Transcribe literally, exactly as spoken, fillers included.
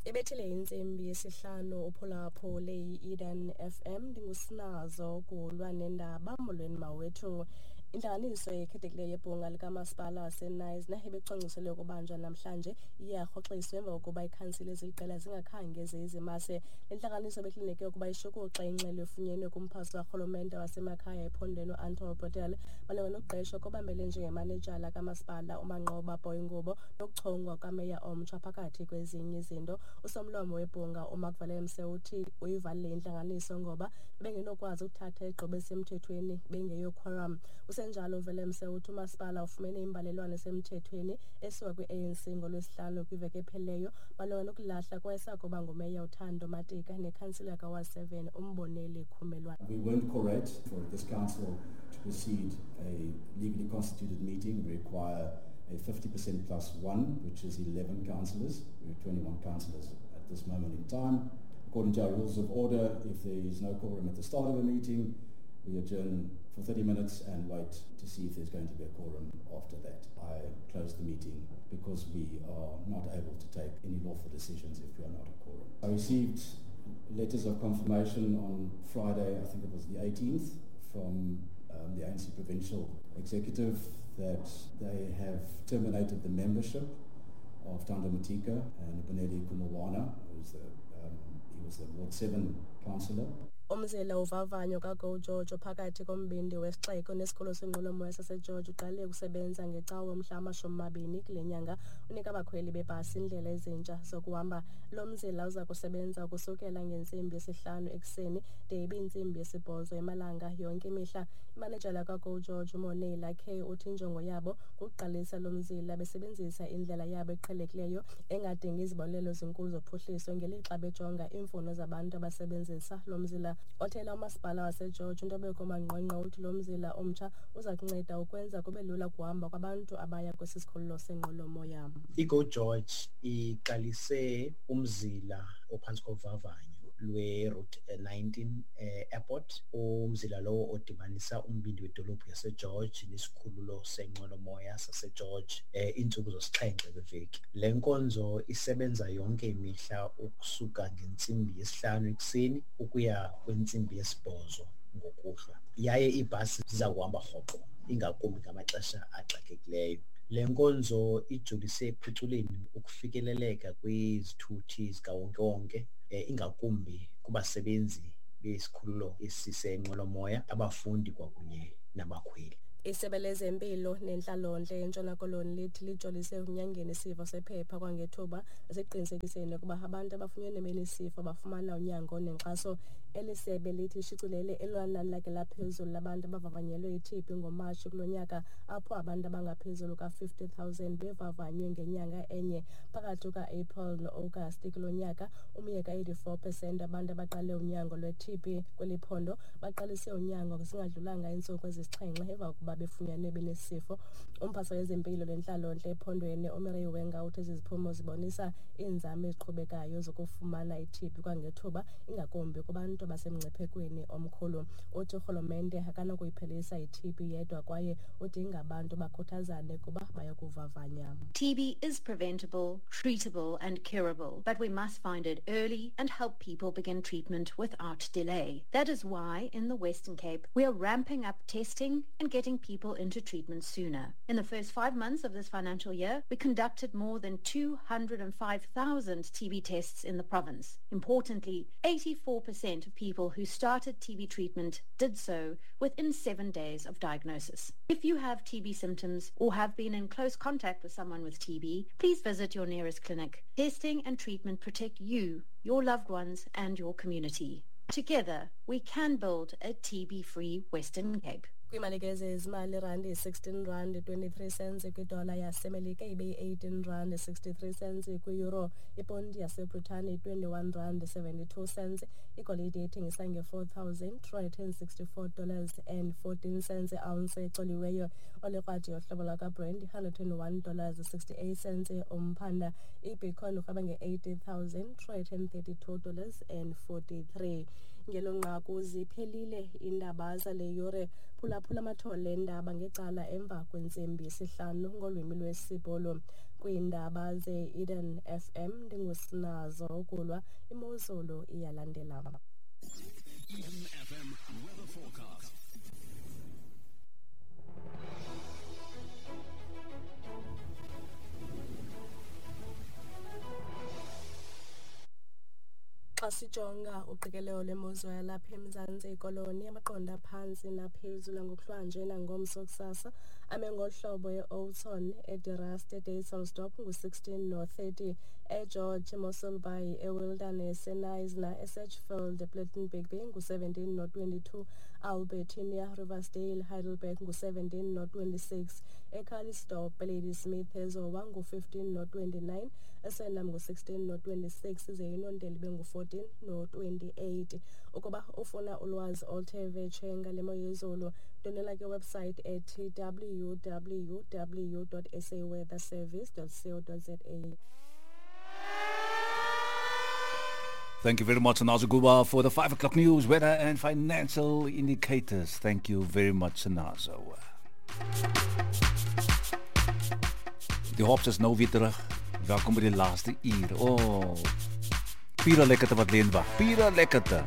Ibethile intsimbi yesihlanu uphulaphule i-Eden F M. Ndingusinazo kulwa nendaba. Molweni mawethu. Intlanganiso ekhethekileyo yebhunga likamasipala waseKnysna ebicwangciselwe ukubanjwa namhlanje iyarhoxiswa emva kokuba ikhansile eziliqela zingakhange ziyizimase. Le ntlanganiso bekulindeleke ukuba ishukuxe ingxelo efunyenwe kumphathi karhulumente wasemakhaya ephondweni uAnton Bredell malunga nokuqeshwa kobambele njengemanejala kamasipala uManqoba Boy Ngubo nokuchongwa kwameya omtsha phakathi kwezinye izinto. Usomlomo webhunga uMark Willemse uthi uyivalile intlanganiso ngoba bengenokwazi ukuthatha igqibo esemthethweni bengeyo quorum. Kusenjalo Willemse uthi umasipala ufumene imbalelwano esemthethweni esuka kwi-A N C ngolwesihlanu kwiveki ephelileyo malunga nokulahla kwayesakuba ngumeya uThando Matika nekhansila kaWard seven uMboneli Khumelwane. We weren't correct for this council to proceed a legally constituted meeting. We require a fifty percent plus one, which is eleven councillors. We're twenty-one councillors at this moment in time. According to our rules of order, if there is no quorum at the start of a meeting, we adjourn for thirty minutes and wait to see if there's going to be a quorum after that. I close the meeting because we are not able to take any lawful decisions if we are not a quorum. I received letters of confirmation on Friday, I think it was the eighteenth, from um, the A N C Provincial Executive that they have terminated the membership of Thando Matika and Bonelli Khumulwana, who's the, um, he was the Ward seven councillor. Umzila uvavanyo kaGo George phakathi kombindi wesixeko nesikolo senqwelomoya saseGeorge uqale ukusebenza ngecawe mhla amashumi mabini kule nyanga, unika abakhweli bebhasi indlela ezintsha zokuhamba. Lo mzila uza kusebenza ukusukela ngentsimbi yesihlanu ekuseni de ibe intsimbi yesibhozo emalanga yonke imihla. Imanejala kaGo George uMonela K uthi injongo yabo kukuqalisa lo mzila besebenzisa indlela yabo eqhelekileyo engadingi izibonelelo ezinkulu zophuhliso ngelixa bejonga iimfuno zabantu abasebenzisa lo mzila. Othela umasipala waseGeorge uNtobeko Mangqwengqwe uthi lo mzila omtsha uza kunceda ukwenza kube lula ukuhamba kwabantu abaya kwesi sikhululo senqwelomoya. IGo George iqalise umzila ophantsi kovavanyo lwe-Route nineteen eh, Airport, umzila lowo odibanisa umbindi wedolophu yaseGeorge nesikhululo senqwelomoya saseGeorge eh, iintsuku zosixhenxe kweveki. Le nkonzo isebenza yonke imihla ukusuka ngentsimbi yesihlanu ekuseni ukuya kwentsimbi yesibhozo ngokuhlwa, yaye iibhasi ziza kuhamba rhoqo ingakumbi ngamaxesha axakekileyo. Le nkonzo ijolise ekuphuculeni ukufikeleleka kwizithuthi zikawonkewonke, eh, ingakumbi kubasebenzi besikhululo esisenqwelomoya, abafundi kwakunye nabakhweli. Isebe lezempilo nentlalontle eNtshona Koloni lithi lijolise ekunyangeni isifo sephepha kwangethuba nasekuqinisekiseni ukuba abantu abafunyenwe benesifo bafumana unyango nenkxaso. Eli sebe lithi lishicilele elona nani lakhe laphezulu labantu abavavanyelwe i-T B ngoMatshi kulo nyaka, apho abantu abangaphezulu ka-fifty thousand bevavanywe ngenyanga enye. Phakathi kuka-April no-Agasti kulo nyaka, umyeka eighty-four percent abantu abaqale unyango lwe-T B kweli phondo baqalise unyango zingadlulanga iintsuku ezisixhenxe emva kokuba befunyanwe benesifo. Umphathiswa wezempilo nentlalontle ephondweni uMary Wenga uthi ezi ziphumo zibonisa iinzame eziqhubekayo zokufumana i-T B kwangethuba, ingakumbi kubantu abasemngciphekweni omkhulu. Uthi urhulumente akanokuyiphelisa i-T B yedwa kwaye udinga abantu bakhuthazane kuba bayokuvavanya. T B is preventable, treatable and curable, but we must find it early and help people begin treatment without delay. That is why in the Western Cape we are ramping up testing and getting people into treatment sooner. In the first five months of this financial year, we conducted more than two hundred and five thousand T B tests in the province. Importantly, eighty-four percent of people who started T B treatment did so within seven days of diagnosis. If you have T B symptoms or have been in close contact with someone with T B, please visit your nearest clinic. Testing and treatment protect you, your loved ones, and your community. Together, we can build a T B-free Western Cape. Kwiimali ke zezimali, irandi yi-sixteen rand twenty-three cents kwidola yaseMelika, ibe yi-eighteen rand sixty-three cents kwi-euro. Iponti yaseBritane yi-twenty-one rand seventy-two cents. Igolide ithengisa nge-four thousand two hundred and sixty-four dollars and fourteen cents i-ounce ecoliweyo. Olikrwadi yohlobo lwakwaBrent yi-hundred and one dollars sixty-eight cents umphanda. Ibitcoin urhweba nge-eighty thousand two hundred and thirty-two dollars and forty-three. Ngelo nqaku ziphelile iindaba zale yure. Phulaphula amathole endaba ngecala emva kwentsimbi yesihlanu ngolwimi lwesiBhulu. Kwiindaba ze-Eden F M ndingusinazo Gulwa, imozulu iyalandela. Eden F M weather forecast. Xa sijonga uqikelelo lwemozulu yalapha eMzantsi Koloni, amaqondo aphantsi naphezulu ngokuhlwanje nangomso kusasa ame ngohlobo e-Oudtshoorn, eDe-Rust, eDysselsdorp ngu-sixteen no-thirty, eGeorge, eMossel Bay, eWilderness, eKnysna, eSedgefield, ePlettenberg Bay ngu-seventeen no-twenty-two, Albertinia, Riversdale, Heidelberg ngu-seventeen no-twenty-six, eCalitzdorp, Ladysmith, eZowa ngu-fifteen no-twenty-nine, eSwellnum ngu-sixteen no-twenty-six, ize iNondeli ibe ngu-fourteen no-twenty-eight. Ukuba ufuna ulwazi oluthe vetshe ngale mo yezulu, ndwendwela ke website ethi w w w dot s a weather service dot co dot z a. Thank you very much, Sinazo Gulwa, for the five o'clock news, weather and financial indicators. Thank you very much, Sinazo. Die Hops is nou weer terug. Welkom by die laaste uur. Oh, pure lekkerte wat leen wag. Pure lekkerte.